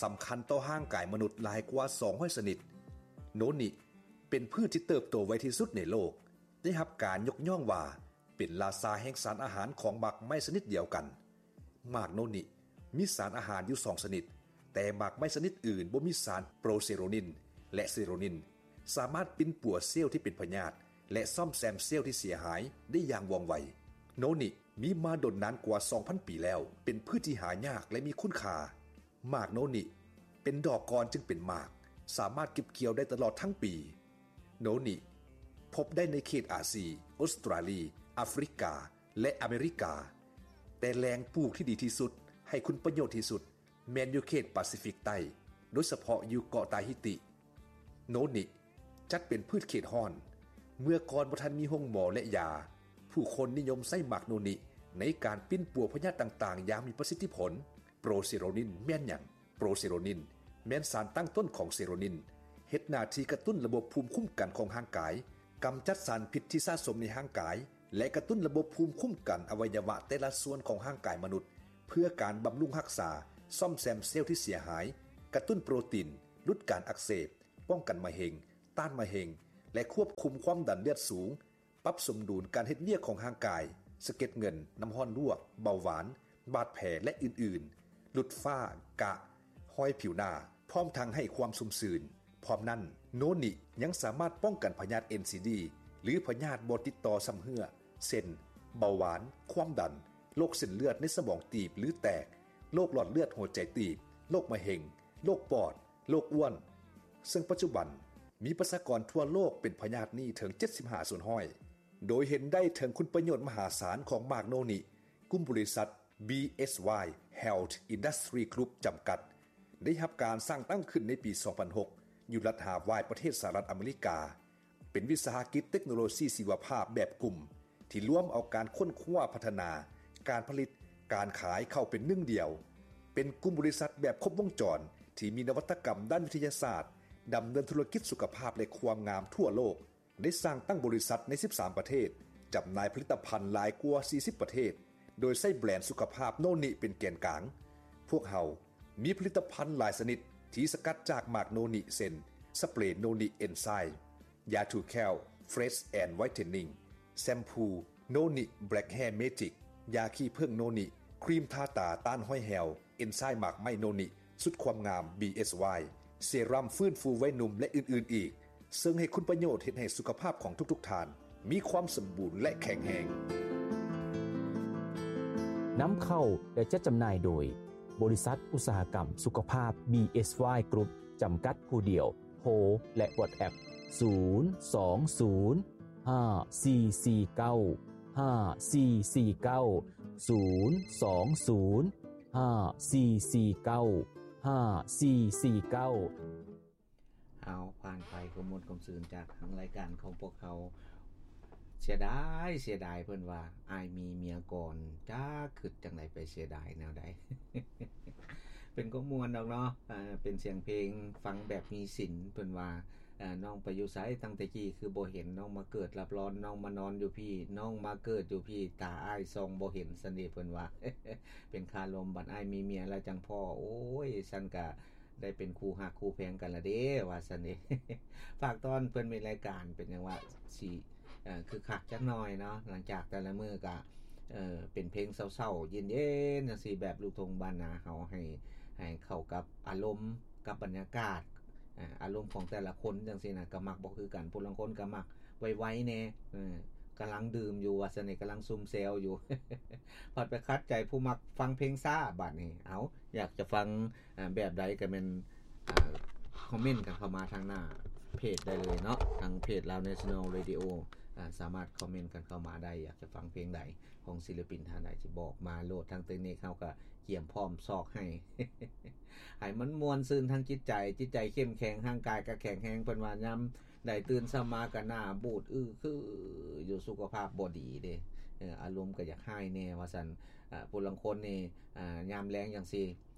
ສຳຄັນຕໍ່ຮ່າງກາຍມະນຸດຫຼາຍກວ່າສອງຮ້ອຍຊະນິດ. ໂນນິ ເປັນພືດທີ່ເຕີບໂຕໄວທີ່ສຸດໃນໂລກ, ໄດ້ຮັບການຍົກຍ້ອງວ່າເປັນລາຊາແຫ່ງສານອາຫານຂອງໝາກໄມ້ຊະນິດດຽວກັນ. ໝາກໂນນິມີສານອາຫານຢູ່ສອງຊະນິດ, ແຕ່ໝາກໄມ້ຊະນິດອື່ນບໍ່ມີສານໂປຣເຊໂຣນິນ ແລະ ເຊໂຣນິນ, ສາມາດປິ່ນປົວເຊວທີ່ເປັນພະຍາດ ແລະ ສ້ອມແຊມເຊວທີ່ເສຍຫາຍໄດ້ຢ່າງວ່ອງໄວ. ໂນນິມີມາດົນນານກວ່າສອງພັນປີແລ້ວ, ເປັນພືດທີ່ຫາຍາກ ແລະ ມີຄຸນຄ່າ. ໝາກໂນນິເປັນດອກກ່ອນຈຶ່ງເປັນໝາກ, ສາມາດເກັບກ່ຽວໄດ້ຕະຫຼອດທັງປີ. ໂນນິພົບໄດ້ໃນເຂດອາຊີ, ອົດສະຕຣາລີ, ອາຟຣິກາ ແລະ ອາເມລິກາ, ແຕ່ແຫຼ່ງປູກທີ່ດີທີ່ສຸດ, ໃຫ້ຄຸນປະໂຫຍດທີ່ສຸດ ແມ່ນຢູ່ເຂດປາຊີຟິກໃຕ້, ໂດຍສະເພາະຢູ່ເກາະຕາຮີຕິ. ໂນນິຈັດເປັນພືດເຂດຮ້ອນ. ເມື່ອກ່ອນບໍ່ທັນມີໂຮງໝໍ ແລະ ຢາ, ຜູ້ຄົນນິຍົມໃຊ້ໝາກໂນນິໃນການປິ່ນປົວພະຍາດຕ່າງໆຢ່າງມີປະສິດທິຜົນ. ໂປຣເຊໂຣນິນແມ່ນຫຍັງ? ໂປຣເຊໂຣນິນແມ່ນສານຕັ້ງຕົ້ນຂອງເຊໂຣນິນ, ເຮັດໜ້າທີ່ກະຕຸ້ນລະບົບພູມຄຸ້ມກັນຂອງຮ່າງກາຍ, ກຳຈັດສານພິດທີ່ສະສົມໃນຮ່າງກາຍ ແລະ ກະຕຸ້ນລະບົບພູມຄຸ້ມກັນອະໄວຍະວະແຕ່ລະສ່ວນຂອງຮ່າງກາຍມະນຸດ ເພື່ອການບຳລຸງຮັກສາ, ສ້ອມແຊມເຊວທີ່ເສຍຫາຍ, ກະຕຸ້ນໂປຣຕີນ, ຫຼຸດການອັກເສບ, ປ້ອງກັນມະເຮັງ, ຕ້ານມະເຮັງ ແລະ ຄວບຄຸມຄວາມດັນເລືອດສູງ, ປັບສົມດຸນການເຮັດວຽກຂອງຮ່າງກາຍ, ສະເກັດເງິນ, ນ້ຳຮ້ອນລວກ, ເບົາຫວານ, ບາດແຜ ແລະ ອື່ນໆ, ຫຼຸດຝ້າ, ກະ, ຮອຍຜິວໜ້າ, ພ້ອມທັງໃຫ້ຄວາມຊຸ່ມຊື່ນ. ພ້ອມນັ້ນ, ໂນນິຍັງສາມາດປ້ອງກັນພະຍາດ ເອັນຊີດີ ຫຼື ພະຍາດບໍ່ຕິດຕໍ່ຊຳເຮື້ອ ເຊັ່ນ ເບົາຫວານ, ຄວາມດັນ, ໂລກເສັ້ນເລືອດໃນສະໝອງຕີບ ຫຼື ແຕກ, ໂລກຫຼອດເລືອດຫົວໃຈຕີບ, ໂລກມະເຮັງ, ໂລກປອດ, ໂລກອ້ວນ, ເຊິ່ງປັດຈຸບັນມີປະຊາກອນທົ່ວໂລກເປັນພະຍາດນີ້ເຖິງເຈັດສິບຫ້າສ່ວນຮ້ອຍ. ໂດຍເຫັນໄດ້ເຖິງຄຸນປະໂຫຍດມະຫາສານຂອງໝາກໂນນິ, ກຸ່ມບໍລິສັດ ບີເອສວາຍ Health Industry Group ຈຳກັດ ໄດ້ຮັບການສ້າງຕັ້ງຂຶ້ນໃນປີສອງພັນຫົກ ຢູ່ລັດຮາວາຍ ປະເທດສະຫະລັດອາເມລິກາ. ເປັນວິສາຫະກິດເຕັກໂນໂລຊີຊີວະພາບແບບກຸ່ມ ທີ່ລວມເອົາການຄົ້ນຄວ້າພັດທະນາ, ການຜະລິດ, ການຂາຍເຂົ້າເປັນໜຶ່ງດຽວ. ເປັນກຸ່ມບໍລິສັດແບບຄົບວົງຈອນ ທີ່ມີນະວັດຕະກຳດ້ານວິທະຍາສາດ, ດຳເນີນທຸລະກິດສຸຂະພາບ ແລະ ຄວາມງາມທົ່ວໂລກ. ໄດ້ສ້າງຕັ້ງບໍລິສັດໃນສິບສາມປະເທດ, ຈຳໜ່າຍຜະລິດຕະພັນຫຼາຍກວ່າສີ່ສິບປະເທດ, ໂດຍໃຊ້ແບຣນສຸຂະພາບໂນນິເປັນແກນກາງ. ພວກເຮົາມີຜະລິດຕະພັນຫຼາຍຊະນິດທີ່ສະກັດຈາກໝາກໂນນິ ເຊັ່ນ ສະເປຣໂນນິເອັນໄຊ, ຢາຖູແຂ້ວ Fresh and Whitening, ແຊມພູໂນນິ Black Hair Magic, ຢາຂີ້ເຜິ້ງໂນນິ, ຄຣີມທາຕາຕ້ານຮອຍແຫ້ວ ເອັນໄຊໝາກໄມ້ໂນນິ, ຊຸດຄວາມງາມ ບີເອສວາຍ, ເຊຣຳຟື້ນຟູໄວໜຸ່ມ ແລະ ອື່ນໆອີກ, ເຊິ່ງໃຫ້ຄຸນປະໂຫຍດເຮັດໃຫ້ສຸຂະພາບຂອງທຸກໆທ່ານມີຄວາມສົມບູນ ແລະ ແຂງແຮງ. ນຳເຂົ້າ ແລະ ຈັດຈຳໜ່າຍໂດຍ ບໍລິສັດອຸດສາຫະກຳສຸຂະພາບ ບີເອສວາຍ ກຣຸບ ຈຳກັດຜູ້ດຽວ. ໂທ ແລະ ວອດແອັບ ສູນສອງສູນ ຫ້າສີ່ສີ່ເກົ້າ ຫ້າສີ່ສີ່ເກົ້າ ສູນສອງສູນ ຫ້າສີ່ສີ່ເກົ້າ ຫ້າສີ່ສີ່ເກົ້າ. ເອົາ ຜ່ານໄປຄວາມມ່ວນຄວາມຊື່ນຈາກທາງລາຍການຂອງພວກເຮົາ. ເສຍດາຍ ເສຍດາຍ ເພິ່ນວ່າ ອ້າຍມີເມຍກ່ອນ ຈັກຄິດຈັ່ງໃດໄປເສຍດາຍແນວໃດ. ເປັນຄວາມມ່ວນດອກເນາະ ເປັນສຽງເພງ ຟັງແບບມີສິນ. ເພິ່ນວ່າ ນ້ອງໄປຢູ່ໃສຕັ້ງແຕ່ກີ້ ຄືບໍ່ເຫັນ? ນ້ອງມາເກີດລັບລອນ ນ້ອງມານອນຢູ່ພີ້ ນ້ອງມາເກີດຢູ່ພີ້ ຕາອ້າຍສ່ອງບໍ່ເຫັນ ຊັ້ນເດ ເພິ່ນວ່າ. ເປັນຄາລົມ ບັດອ້າຍມີເມຍແລ້ວຈັ່ງພໍ້ ໂອ້ຍ ຊັ້ນກະໄດ້ເປັນຄູ່ຮັກຄູ່ແພງກັນລະເດ ວ່າຊັ້ນເດ. ຝາກຕ້ອນເພິ່ນມີລາຍການ ເປັນຫຍັງວ່າຊິ ເອີ ຄຶກຄັກຈັກໜ່ອຍເນາະ ຫຼັງຈາກແຕ່ລະມື້ກະ ເອີ ເປັນເພງເສົ້າໆ ເຢັນໆ ຈັ່ງຊີ້ ແບບລູກທົ່ງບ້ານນາເຮົາ ໃຫ້ ໃຫ້ເຂົ້າກັບອາລົມ ກັບບັນຍາກາດ ອາ ອາລົມຂອງແຕ່ລະຄົນຈັ່ງຊີ້ນະ ກະມັກບໍ່ຄືກັນ. ຜູ້ລາງຄົນກະມັກໄວໆແດ່ ເອີ ກຳລັງດື່ມຢູ່ວ່າຊັ້ນເດ ກຳລັງຊຸມແຊວຢູ່ ພັດໄປຂັດໃຈຜູ້ມັກຟັງເພງຊ້າບາດນີ້. ເອົາ ຢາກຈະຟັງ ອາ ແບບໃດກະແມ່ນ ອາ ຄອມເມັນກັນເຂົ້າມາທາງໜ້າເພຈໄດ້ເລີຍເນາະ ທາງເພຈ Lao National Radio ອາ ສາມາດຄອມເມັນກັນເຂົ້າມາໄດ້. ຢາກຈະຟັງເພງໃດຂອງສິລະປິນທ່ານໃດ ຊິບອກມາໂລດ. ທາງເຕັກນິກເຮົາກະກຽມພ້ອມຊອກໃຫ້ ໃຫ້ມັນມ່ວນຊື່ນທາງຈິດໃຈ ຈິດໃຈເຂັ້ມແຂງ ຮ່າງກາຍກະແຂງແຮງ. ເພິ່ນວ່າຍາມໃດຕື່ນເຊົ້າມາກະໜ້າບູດອື້ອຄືຢູ່ ສຸຂະພາບບໍ່ດີເດ ເອີ ອາລົມກະຢາກຮ້າຍແດ່ວ່າຊັ້ນ. ອາ ຜູ້ລາງຄົນນີ້ ອາ ຍາມແລງຈັ່ງຊີ້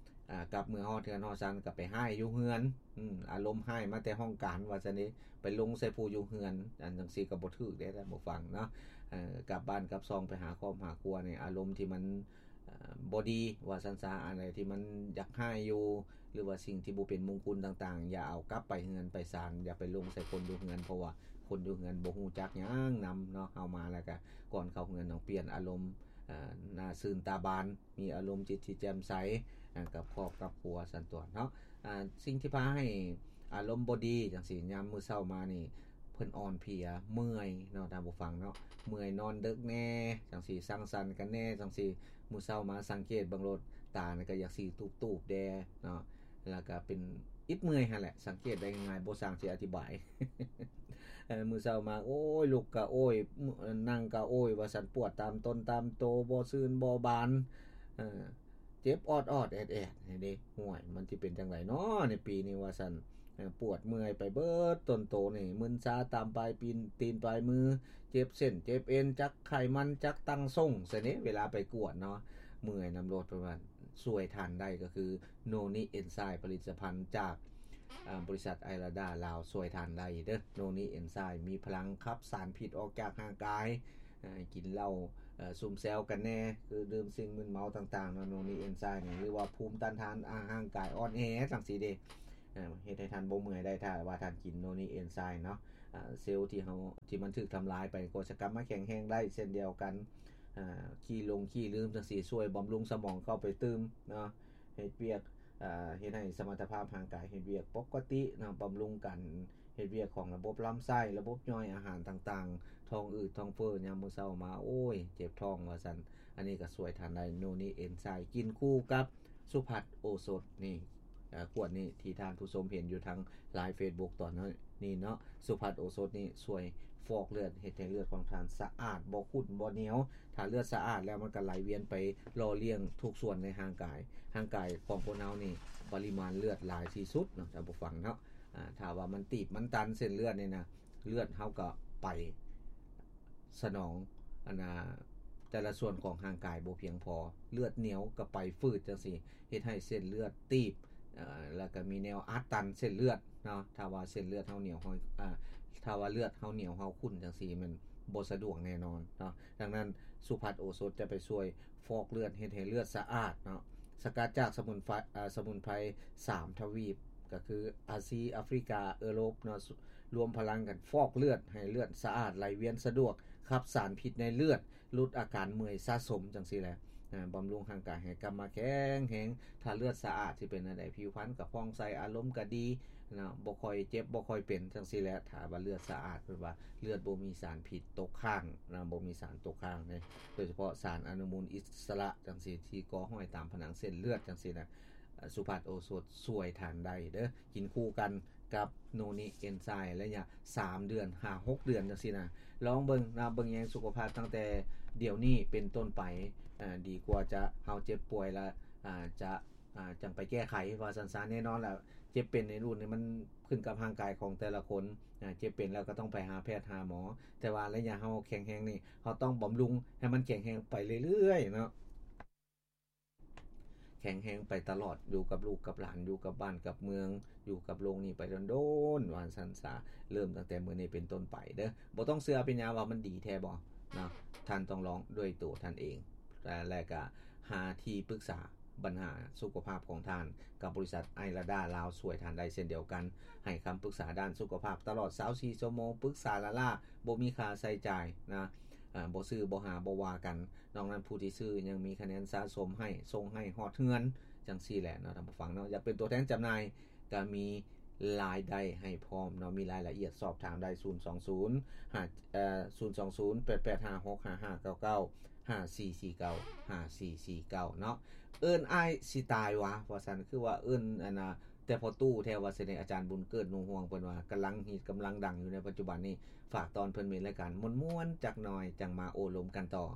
ອາ ກັບເມືອຮອດເຮືອນຮອດຊານກະໄປຮ້າຍຢູ່ເຮືອນ ອາລົມຮ້າຍມາແຕ່ຫ້ອງການວ່າຊັ້ນເດ ໄປລົງໃສ່ຜູ້ຢູ່ເຮືອນ ອັນຈັ່ງຊີ້ກະບໍ່ຖືກເດທ່ານຜູ້ຟັງເນາະ. ເອີ ກັບບ້ານກັບຊ່ອງໄປຫາຄອບຫາຄົວນີ້ ອາລົມທີ່ມັນ ເອີ່ ບໍ່ດີວ່າຊັ້ນຊະ, ອັນໃດທີ່ມັນຢາກຮ້າຍຢູ່ ຫຼືວ່າສິ່ງທີ່ບໍ່ເປັນມຸງຄຸນຕ່າງໆ ຢ່າເອົາກັບໄປເຮືອນໄປຊານ, ຢ່າໄປລົງໃສ່ຄົນຢູ່ເຮືອນ ເພາະວ່າຄົນຢູ່ເຮືອນບໍ່ຮູ້ຈັກຫຍັງນຳເນາະ. ເຮົາມາແລ້ວກະກ່ອນເຂົ້າເຮືອນຕ້ອງປ່ຽນອາລົມ ເອີ່ ໜ້າຊື່ນຕາບານ, ມີອາລົມຈິດທີ່ແຈ່ມໃສ ອາ ກັບຄອບກັບຄົວຊັ້ນຕົວະເນາະ. ອາ ສິ່ງທີ່ພາໃຫ້ອາລົມບໍ່ດີຈັ່ງຊີ້ ຍາມມື້ເຊົ້າມານີ້ ເພິ່ນອ່ອນເພຍ ເມື່ອຍເນາະທ່ານຜູ້ຟັງເນາະ, ເມື່ອຍນອນເດິກແດ່ຈັ່ງຊີ້ ສັງສັນກັນແດ່ຈັ່ງຊີ້, ມື້ເຊົ້າມາສັງເກດເບິ່ງໂລດ ຕານີ້ກໍຢາກຊິຕູບໆແດ່ເນາະ, ແລ້ວກໍເປັນອິດເມື່ອຍຫັ້ນແຫຼະ, ສັງເກດໄດ້ງ່າຍໆ ບໍ່ຊ່າງຊິອະທິບາຍ. ເອີ ມື້ເຊົ້າມາ ໂອ້ຍ ລຸກກະໂອ້ຍ ນັ່ງກະໂອ້ຍວ່າຊັ້ນ, ປວດຕາມຕົນຕາມໂຕ ບໍ່ຊື່ນບໍ່ບານ ເອີ ເຈັບອອດໆແອດໆນີ້ເດ້. ຫ້ວຍ ມັນຊິເປັນຈັ່ງໃດເນາະໃນປີນີ້ວ່າຊັ້ນ. ເອີ ປວດເມື່ອຍໄປເບິດຕົນໂຕນີ້, ມຶນຊາຕາມປາຍຕີນ ຕີນປາຍມື, ເຈັບເສັ້ນເຈັບເອັນ, ຈັກໄຂມັນ ຈັກຕັ້ງຊົງຊັ້ນເດ້ ເວລາໄປກວດເນາະ, ເມື່ອຍນຳໂລດ. ເພິ່ນວ່າຊ່ວຍທ່ານໄດ້ກໍຄືໂນນິເອັນໄຊ ຜະລິດຕະພັນຈາກ ອາ ບໍລິສັດໄອລາດາລາວ ຊ່ວຍທ່ານໄດ້ເດີ້. ໂນນິເອັນໄຊ ມີພະລັງຂັບສານພິດອອກຈາກຮ່າງກາຍ, ເອີ ກິນເຫຼົ້າ ເອີ ຊຸມແຊວກັນແດ່ ຄືດື່ມສິ່ງມຶນເມົາຕ່າງໆເນາະ, ໂນນິເອັນໄຊນີ້ ຫຼືວ່າພູມຕ້ານທານ ອາ ຮ່າງກາຍອ່ອນແອຈັ່ງຊີ້ເດ້. ເອີ ເຮັດໃຫ້ທ່ານບໍ່ເມື່ອຍໄດ້ ຖ້າວ່າທ່ານກິນໂນນິເອັນໄຊເນາະ. ອາ ເຊວທີ່ເຮົາ ທີ່ມັນຖືກທຳລາຍໄປກໍຈະກັບມາແຂງແຮງໄດ້ເຊັ່ນດຽວກັນ. ອາ ຂີ້ຫຼົງຂີ້ລືມຈັ່ງຊີ້ ຊ່ວຍບຳລຸງສະໝອງເຂົ້າໄປຕື່ມເນາະ, ເຮັດວຽກ ອາ ເຮັດໃຫ້ສະມັດຕະພາບຮ່າງກາຍເຮັດວຽກປົກກະຕິເນາະ, ບຳລຸງການເຮັດວຽກຂອງລະບົບລຳໄສ້, ລະບົບຍ່ອຍອາຫານຕ່າງໆ, ທ້ອງອືດທ້ອງເຟີ້ຍາມມື້ເຊົ້າມາ ໂອ້ຍ ເຈັບທ້ອງວ່າຊັ້ນ. ອັນນີ້ກໍຊ່ວຍທ່ານໄດ້ ໂນນິເອັນໄຊ ກິນຄູ່ກັບສຸພັດໂອສົດນີ້. ເອີ ຂວດນີ້ທີ່ທ່ານຜູ້ຊົມເຫັນຢູ່ທາງ Live Facebook ຕອນນີ້ເນາະ, ສຸພັດໂອສົດນີ້ຊ່ວຍຟອກເລືອດ ເຮັດໃຫ້ເລືອດຂອງທ່ານສະອາດ ບໍ່ຂຸ້ນບໍ່ໜຽວ. ຖ້າເລືອດສະອາດແລ້ວ ມັນກໍໄຫຼວຽນໄປຫຼໍ່ລ້ຽງທຸກສ່ວນໃນຮ່າງກາຍ. ຮ່າງກາຍຂອງຄົນເຮົານີ້ປະລິມານເລືອດຫຼາຍທີ່ສຸດເນາະ ທ່ານຜູ້ຟັງເນາະ. ອາ ຖ້າວ່າມັນຕີບມັນຕັນເສັ້ນເລືອດນີ້ນະ ເລືອດເຮົາກໍໄປສະໜອງ ອັນນ່າ ແຕ່ລະສ່ວນຂອງຮ່າງກາຍບໍ່ພຽງພໍ, ເລືອດໜຽວກໍໄປຝືດຈັ່ງຊີ້ ເຮັດໃຫ້ເສັ້ນເລືອດຕີບ ເອີ ແລ້ວກໍມີແນວອັດຕັນເສັ້ນເລືອດເນາະ. ຖ້າວ່າເສັ້ນເລືອດເຮົາໜຽວເຮົາ ອາ ຖ້າວ່າເລືອດເຮົາໜຽວເຮົາຂຸ້ນຈັ່ງຊີ້ ແມ່ນບໍ່ສະດວກແນ່ນອນເນາະ. ດັ່ງນັ້ນ ສຸພັດໂອສົດຈະໄປຊ່ວຍຟອກເລືອດ ເຮັດໃຫ້ເລືອດສະອາດເນາະ. ສະກັດຈາກສະໝຸນໄພ ອາ ສະໝຸນໄພສາມທະວີບ ກໍຄືອາຊີ, ອາຟຣິກາ, ເອີຣົບເນາະ, ລວມພະລັງກັນຟອກເລືອດໃຫ້ເລືອດສະອາດ ໄຫຼວຽນສະດວກ, ຂັບສານພິດໃນເລືອດ, ຫຼຸດອາການເມື່ອຍສະສົມຈັ່ງຊີ້ແຫຼະ. ອາ ບຳລຸງຮ່າງກາຍໃຫ້ກັບມາແຂງແຮງ. ຖ້າເລືອດສະອາດຊິເປັນແນວໃດ? ຜິວພັນກໍຜ່ອງໃສ, ອາລົມກໍດີເນາະ, ບໍ່ຄ່ອຍເຈັບ ບໍ່ຄ່ອຍເປັນຈັ່ງຊີ້ແຫຼະ. ຖ້າວ່າເລືອດສະອາດ ເພິ່ນວ່າເລືອດບໍ່ມີສານພິດຕົກຄ້າງເນາະ, ບໍ່ມີສານຕົກຄ້າງເດ້, ໂດຍສະເພາະສານອະນຸມູນອິດສະຫຼະຈັ່ງຊີ້ ທີ່ກໍ່ຫ້ອຍຕາມຜະໜັງເສັ້ນເລືອດຈັ່ງຊີ້ນະ. ເອີ ສຸພັດໂອສົດຊ່ວຍທ່ານໄດ້ເດີ້, ກິນຄູ່ກັນກັບໂນນິເອັນໄຊ ໄລຍະສາມເດືອນຫາຫົກເດືອນຈັ່ງຊີ້ນະ. ລອງເບິ່ງນະ, ເບິ່ງແຍງສຸຂະພາບຕັ້ງແຕ່ດຽວນີ້ເປັນຕົ້ນໄປ. ເອີ ດີກວ່າຈະ ເຮົາເຈັບປ່ວຍລະ ອາ ຈະ ອາ ຈັ່ງໄປແກ້ໄຂວ່າຊັ້ນຊະ. ແນ່ນອນລະ ເຈັບເປັນໃນລຸ້ນນີ້ມັນຂຶ້ນກັບຮ່າງກາຍຂອງແຕ່ລະຄົນ. ອາ ເຈັບເປັນແລ້ວກໍຕ້ອງໄປຫາແພດຫາໝໍ, ແຕ່ວ່າໄລຍະເຮົາແຂງແຮງນີ້ ເຮົາຕ້ອງບຳລຸງໃຫ້ມັນແຂງແຮງໄປເລື້ອຍໆເນາະ. ແຂງແຮງໄປຕະຫຼອດ, ຢູ່ກັບລູກກັບຫຼານ, ຢູ່ກັບບ້ານກັບເມືອງ, ຢູ່ກັບໂລກນີ້ໄປດົນໆ ວ່າຊັ້ນຊະ. ເລີ່ມຕັ້ງແຕ່ມື້ນີ້ເປັນຕົ້ນໄປເດີ້. ບໍ່ຕ້ອງເຊື່ອອະພິນຍາວ່າມັນດີແທ້ບໍ່ເນາະ, ທ່ານຕ້ອງລອງດ້ວຍຕົວທ່ານເອງ. ແລະ ແລະກະຫາທີ່ປຶກສາບັນຫາສຸຂະພາບຂອງທ່ານກັບບໍລິສັດໄອລາດາລາວ ຊ່ວຍທ່ານໄດ້ເຊັ່ນດຽວກັນ. ໃຫ້ຄຳປຶກສາດ້ານສຸຂະພາບຕະຫຼອດຊາວສີ່ຊົ່ວໂມງ, ປຶກສາລ້າໆ ບໍ່ມີຄ່າໃຊ້ຈ່າຍນະ. ອາ ບໍ່ຊື້ ບໍ່ຫາ ບໍ່ວ່າກັນ. ນອກນັ້ນ ຜູ້ທີ່ຊື້ຍັງມີຄະແນນສະສົມໃຫ້, ສົ່ງໃຫ້ຮອດເຮືອນ ຈັ່ງຊີ້ແຫຼະເນາະ ທ່ານຜູ້ຟັງເນາະ. ຢາກເປັນຕົວແທນຈຳໜ່າຍ ກະມີລາຍໄດ້ໃຫ້ພ້ອມເນາະ, ມີລາຍລະອຽດສອບຖາມໄດ້ ສູນສອງສູນ ຫ້າ ເອີ ສູນສອງສູນ ແປດແປດຫ້າຫົກ ຫ້າຫ້າເກົ້າເກົ້າ ຫ້າສີ່ສີ່ເກົ້າ ຫ້າສີ່ສີ່ເກົ້າເນາະ. ເອີ້ນອ້າຍຊິຕາຍຫວາ ວ່າຊັ້ນ, ຄືວ່າເອີ້ນ ອັນນ່າ ແຕ່ພໍ່ຕູ້ແທ້ວ່າຊັ້ນເດ. ອາຈານບຸນເກີດ ໜູຮວງ ເພິ່ນວ່າກຳລັງຮິດກຳລັງດັງຢູ່ໃນປັດຈຸບັນນີ້. ຝາກຕ້ອນເພິ່ນມີລາຍການມ່ວນໆຈັກໜ່ອຍ ຈັ່ງມາໂອ້ລົມກັນຕໍ່.